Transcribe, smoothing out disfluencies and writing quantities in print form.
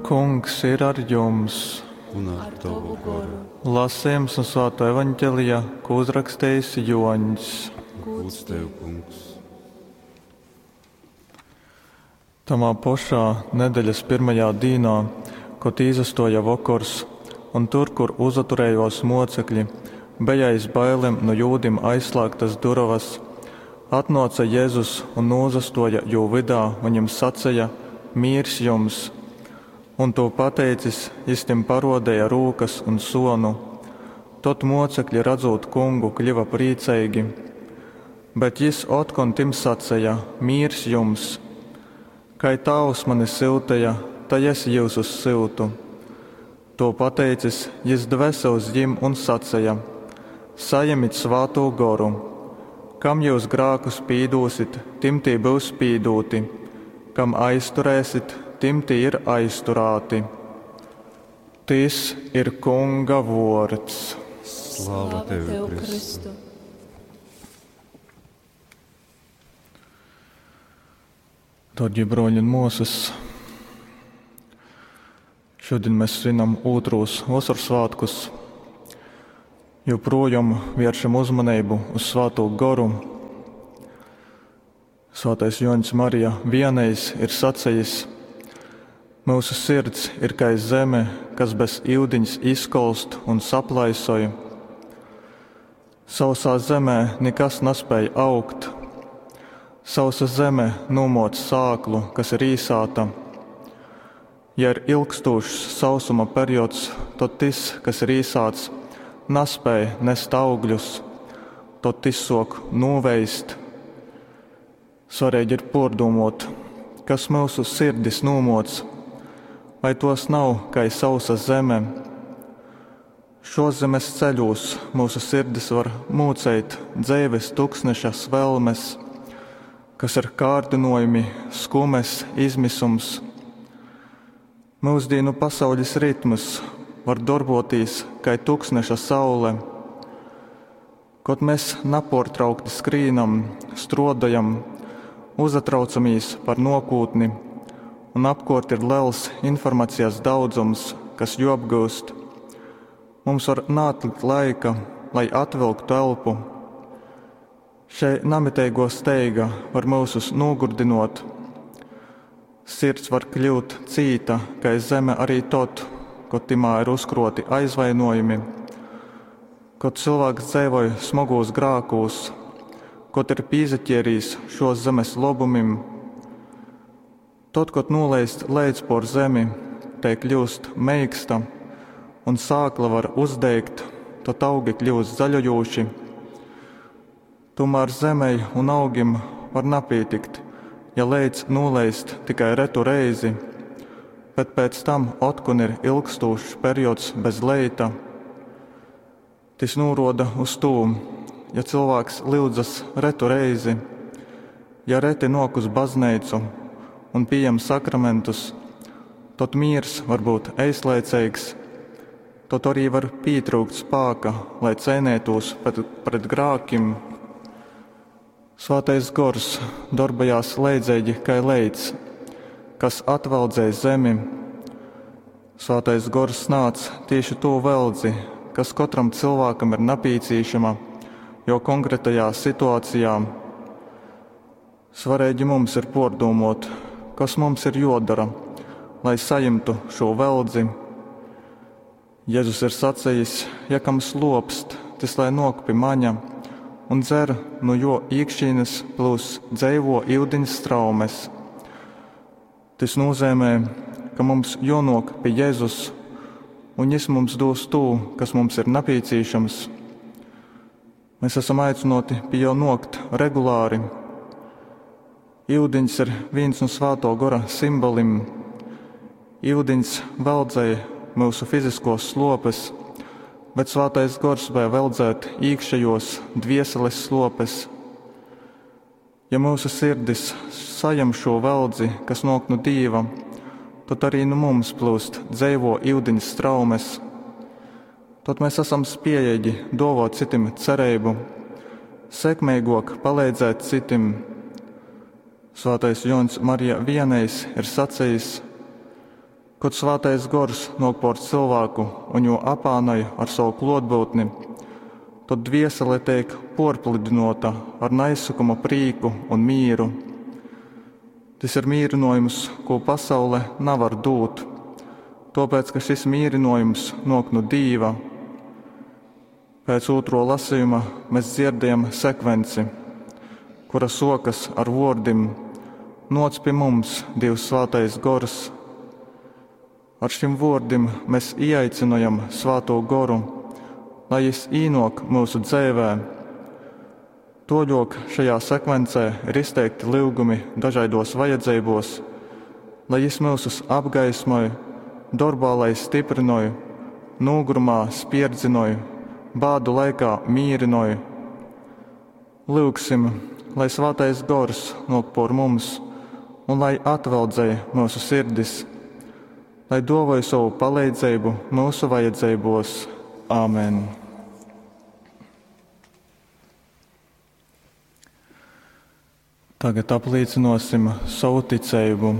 Kungs ir ar jums! Un ar tovu goru. Lasījums no Svētā evaņģēlija, ko uzrakstījis Joņs. Gūds tev, Kungs! Tamā pošā nedeļas pirmajā dīnā, kod īzastoja vokors, un tur, kur uzaturējos mocekļi, beja aiz bailem nu jūdim aizslēgtas durovas, atnōca Jezus un nūzastoja jū vydā un jim saceja: Mīrs jums! Un tū pateicis, jis tim paruodeja rūkas un suonu. Tod muocekļi, radzūt Kungu, kļiva prīceigi. Bet jis otkon tim saceja: Mīrs jums! Kai Tāvs mani syuteja, tai es jyusus syutu. Tū pateicis, jis dvese uz jim un saceja: Sajemit Svātū Goru! Kam jyus grākus pīdūsit, tim tī byus pīdūti, kam aizturēsit, tim tī ir aizturāti. Tys ir Kunga vuords. Slava tev, Kristu! Dārgie broļi un muosas, šodien mēs svinam ūtrūs Vosorsvātkus. Joprojām vēršam uzmanību uz Svātū Goru. Svētais Joņs Marija Vienejs ir sacījis: Mūsu sirds ir kai zeme, kas bez iudiņs izkolst un saplaisoj. Sausā zemē nekas nespēj augt. Sausa zeme nūmoc sāklu, kas ir īsāta. Ja ir ilgstošs sausuma periods, tad tas, kas ir īsāts, nespēj nest augļus, tad tas sok nūveist. Svarīgi ir pārdomot, kas mūsu sirdis nūmoc, vai tos nav kai sausa zeme. Šos zemes ceļos mūsu sirdis var mūceit dzeives tuksneša svelmes, kas ir kārdinojumi, skumes, izmisums. Mūsdienu pasaules ritms var darbotīs kai tuksneša saule. Kod mēs naportraukti skrīnam, strodajam, uzatraucamies par nokūtni, un apkort ir liels informācijas daudzums, kas joapgūst, mums var neatlikt laika, lai atvilktu elpu. Šei namiteigo steiga var mūsus nogurdinot. Sirds var kļūt cīta, kai zeme arī tod, kod timā ir uzkroti aizvainojumi, kod cilvēks dzeivoja smagūs grākūs, kod ir pīzaķierījis šos zemes lobumim. Tod, kod nūleist leidz por zemi, te kļūst meiksta un sākla var uzdeigt, tad augi kļūst zaļojoši. Tomēr zemei un augim var napītikt, ja leidz nūleist tikai retu reizi, bet pēc tam otkon ir ilgstošs periods bez leita. Tis nūroda uz tū, ja cilvēks lyudzas retu reizi, ja reti nok uz baznīcu un pieņem sakramentus, tad miers var būt eislaicīgs, tad arī var pietrūkt spāka, lai cēnētos pret grākim. Svētais gors darbojās leidzīgi kai leits, kas atvaldzēja zemi. Svētais gors nāc tieši to veldzi, kas katram cilvēkam ir napīcīšama, jo konkrētajā situācijā. Svarīgi mums ir pārdomot, kas mums ir jodara, lai saņemtu šo veldzi. Jēzus ir sacījis, ja kam slopst, tas lai nok pie maņa un dzer, nu jo iekšīnes plūs dzeivo iudiņas straumes. Tas nozīmē, ka mums jonok pie Jēzus, un Jis mums dos to, kas mums ir nepieciešams. Mēs esam aicināti pie jo nokt regulāri. Iudiņs ir viens no Svēto gora simbolim. Iudiņs veldzēja mūsu fiziskos slopes, bet Svētais gors spēja veldzēt iekšējos dvieseles slopes. Ja mūsu sirdis sajem šo veldzi, kas nok no Dieva, tad arī nu mums plūst dzeivo iudiņas straumes. Tad mēs esam spējīgi dovot citim cerību, sekmīgāk palīdzēt citim. Svētais Jons Marija Vienejs ir sacījis: Kod Svātais Gors nōk pōr cylvāku un jū apānoj ar sovu klōtbyutni, tod dviesele teik pōrpludynōta ar naizsokamu prīku un mīru. Tys ir mīrynōjums, kū pasaule navar dūt, tōpēc, ka šis mīrynōjums nōk nu Dīva. Pēc ūtruo lasejuma mes dzierdējam sekvenci, kura suokas ar vuordim: Nuoc pi mums, Dīvs Svātais Gors! Ar šim vuordim mes īaicynojam Svātū Goru, lai Jis īnuok myusu dzeivē. Tuoļuok šajā sekvencē ir izteikti lyugumi dažaiduos vajadzeibuos, lai Jis myusus apgaismoj, dorbā lai styprynoj, nūgurumā spierdzynoj, bādu laikā mīrynoj. Lyugsim, lai Svātais Gors nuok puor mums un lai atveldzej myusu sirdis, lai duovoj sovu paleidzeibu myusu vajadzeibuos. Āmen. Tagad aplīcynuosim sovu ticeibu.